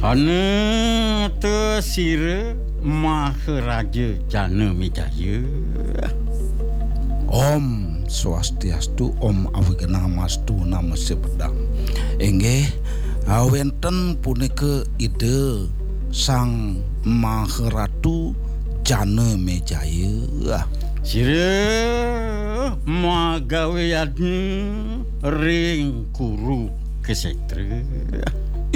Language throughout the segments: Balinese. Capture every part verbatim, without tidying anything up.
Ana ta sira Maharaja Janamejaya. Om Swastiastu, Om Awignamastu, Namo Siddham. Inggih, ah, wenten punika Ida Sang Maharatu Janamejaya. Sira magawe yadnya ring Kuru Ksetra.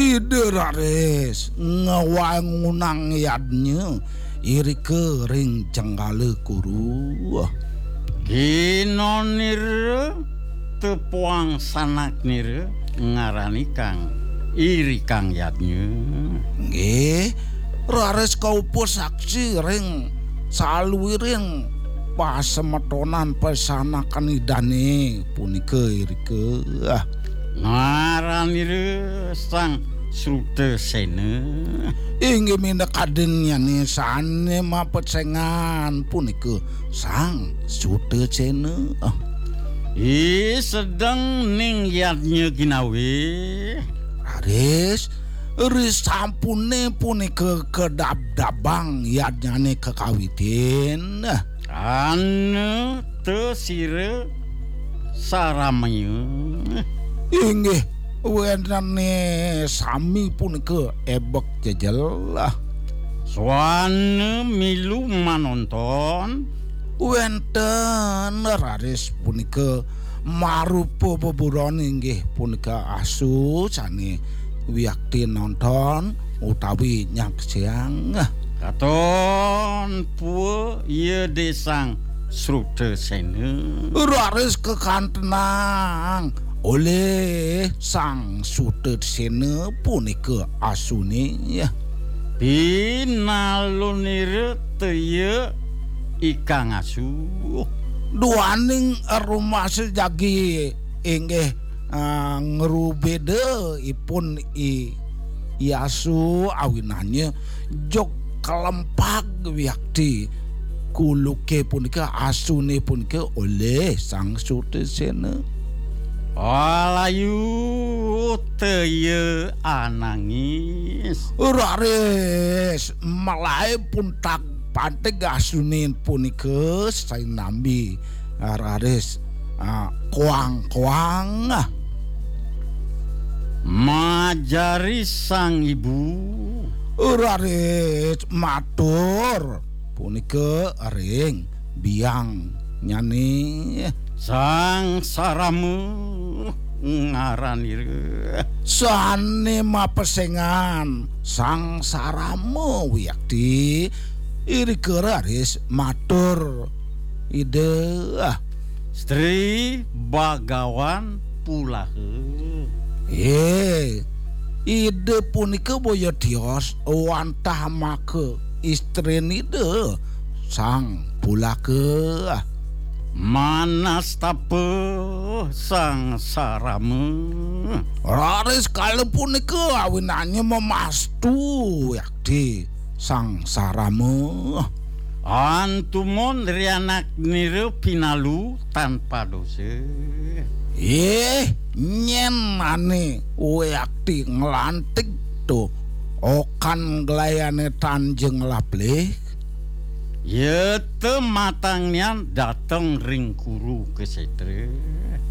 Ida raris ngawangunang yadnya irika ring Jenggala Kuru. Ginonira tepuang sanaknira ngaranikang irikang yadnya. Nggih, raris kaupasaksi ring saluiring pasemetonan pasanakan Idane punika irika. Ngaranira Sang Srutasena. Inggih minakadinnyane sane mapesengan punika Sang Srutasena. I sedeng ning yadnya ginawe. Raris, risampune punika kadabdabang yadnyane kakawitin. Ana ta sira saramaya. Inggih, wenane sami punika ebek jejelah. Swana milu manonton. Wenten raris punika marupa beburon inggih punika asu sane wiakti nonton utawi nyaksiang. Katon pua iya de Sang Srutasena. Raris kakantenang olih Sang Srutasena punika asune. Pinalunira ta iya ikang asu. Duaning rumasa jagi inggih, ah, ngrubeda ipun i, i asu awinannya jog kalempag wiakti kuluke punika, asune punika olih Sang Srutasena. Alayu ta iya anangis. Raris malaib puntag pantig asune punika sinambi, ah, raris, ah, koang-koang. Majari sang ibu. Raris matur punika ring biangnyane. Sang Sarama ngaranira. Sane mapesengan Sang Sarama wiakti irika raris matur Ida. Sri Bagawan Pulaha. Eh, Ida punika boya tios wantah maka istrin Ida Sang Pulaka. Manastapa Sang Sarama. Raris kala punika awinannya memastu yakti Sang Sarama. Antumun rianak nira pinalu tanpa dosa. Eh, nyen ane wekti nglantik to okan glayane tanjeng laplih. Yata matang nian dateng ring Guru Kesetra.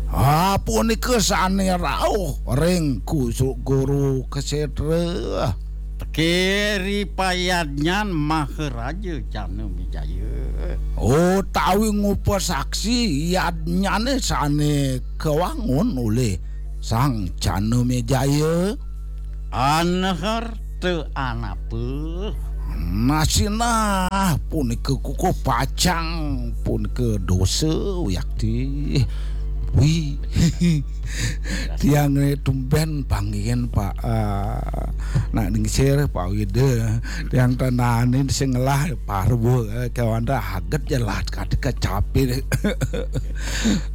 Ah, punika sane rauh ring kusu-, Guru Kesetra. Teke ri payadnyan Maharaja Janamejaya. Utawi ngupasaksi yadnyane sane kawangun olih Sang Janamejaya. Anhar te anapa. Nasinah punika kukuh pacang punika dosa wiakti. Wi. Tiang ne tumben panggihin Pak, ah, nak ningsir Pak Wida. Tiang tenanin sing ngelah parwa, eh, kewanda aget jelas kati kecapi.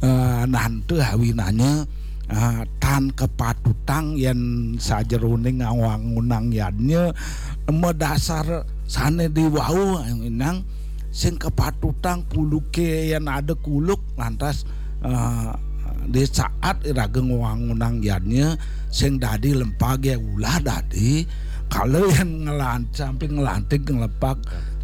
Eh, nantu awinannya, ah, tan kepatutang yen sajeroning ngawangunang yadnya madasar sane diwau inang sing kepatutang kuluke yen ada kuluk lantas, eh, di saat iraga ngawangunang yadnya sing dadi lempage ulah dadi Kala yén ngelan-, sampai ngelantig ngelepak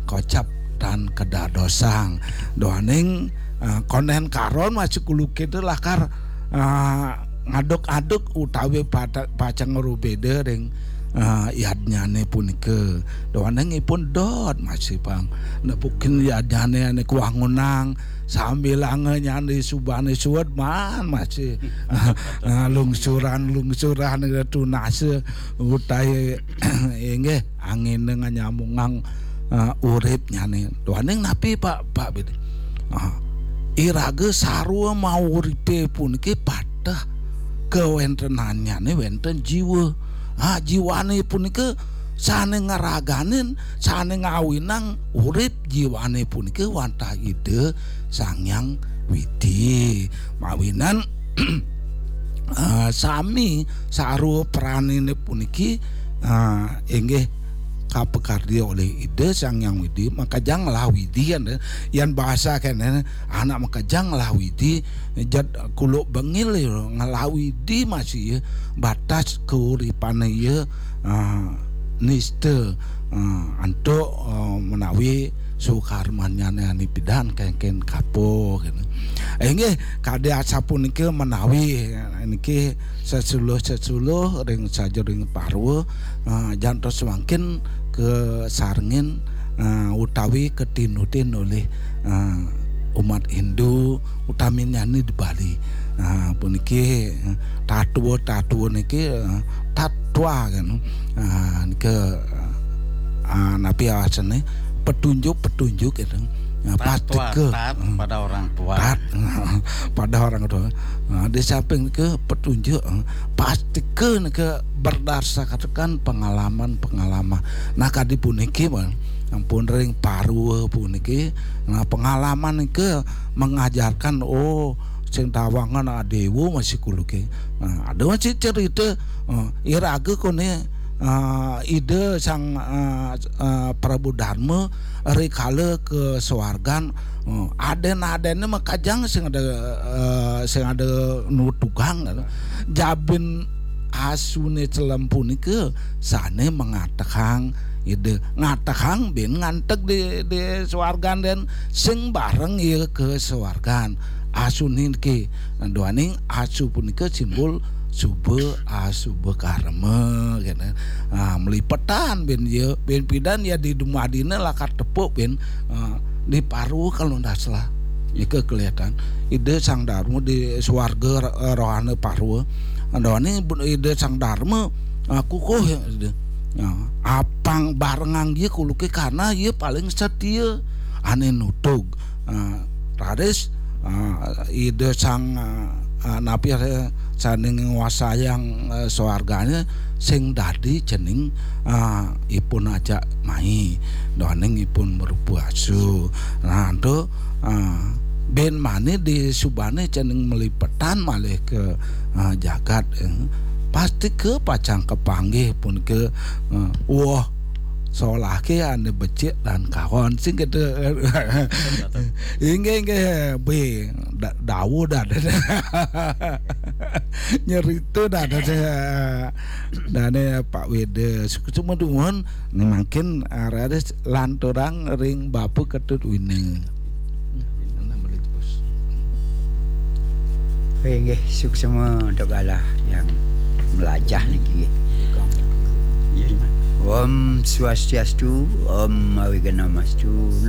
kocap tan kedadosang. Duaning, eh, konden karon masih kulukit lakar, eh, ngaduk-aduk utawi pata-, pacang ngrubeda ring, eh, yadnyane punika. Duaning ipun dot masih pang nepukin yadnyane ane kuangunang, sambilanga nyandi subane suud maan masih, eh, lungsuran-lungsuran tunasa utawi inggih angine nganyamungang, eh, uripnyane. Duaning napi, Pak, Pak Bidi? Ah, iraga sarwa mauripe puniki pateh kawentenannyane wenten jiwa. Ah, jiwane punika sane ngraganin, sane ngawinang urip jiwane punika wantah Ida Sang Hyang Widi. Mawinan, ah, sami sarwa pranine puniki, ah, inggih kapakardi olih Ida Sang Hyang Widi, makejang ngelah Widi, kan, yan bahasa kene, anak makejang ngelah Widi, jat kuluk bengil ya, ngelah Widi masih ya, batas kauripane ya, ah, nista, ah, antuk, ah, menawi sukarmanyane ane pidan kengken kapo, gitu. Inggih, kadi asapunika menawi, eh, niki sesuluh-sesuluh ring sajeroning parwa, eh, jantos mangkin kasarengin, eh, utawi katinutin olih, eh, umat Hindu, utaminyane di Bali. Eh, puniki, eh, tatua-tatua niki, eh, tatwa kan. Eh, nika, eh, napi awasane petunjuk-petunjuk gitu. Eh, Tatwa, pastika, tat eh, pada orang tua. Tat pada orang tua. Eh, di samping ke petunjuk, eh, pastika nika berdasarkan pengalaman-pengalaman. Nah, kadi puniki, Bang, ampun ring parwa puniki. Nah, pengalaman nika mengajarkan, oh, sing tawangan adewa masih kuluke. Nah, ada masih cerita, eh, iraga kone, eh, Ida Sang, eh, eh, Prabu Dharma rikala ke suargan, eh, aden-adenne makajang sing ada, eh, sing ada nutugang, gitu. Jabin asune celem punika sane mangatehang Ida, ngatehang bin nganteg di, di suargan den sing bareng ya ke suargan. Asune niki, duaning asu punika simbol suba asuba karma, gitu. Ah, melipetan bin ya, bin pidan ya di dumadine lakar tepuk bin, ah, di parwa kalau ndak salah. Nika kelihatan Ida Sang Dharma di suarga, eh, rohana parwa. Duaning Ida Sang Dharma, ah, kukuh ya, Ida. Ah, apang barengang ya kuluke karena ya paling setia ane nutug. Ah, raris, ah, Ida Sang, ah, ah, napi, eh, sane nguasayang, eh, swargane sing dadi cening, ah, ipun ajak mai, duaning ipun marupa asu. Nah, to, ah, bin mane di subane cening melipetan malih ke, ah, jagat, eh. Pastika pacang kapanggih punika, eh, woh solahke ane becik lan kawan sing kata. Inggih, inggih, be, da-, dawuh dah. Nyerita dah, dah, dah. Dane Pak Weda, suksma dumun, ni mangkin, ah, raris lanturang ring Bapak Ketut Wina. Inggih, suksma untuk galah yang melajah niki. Om Swastiastu, Om Awighnamastu,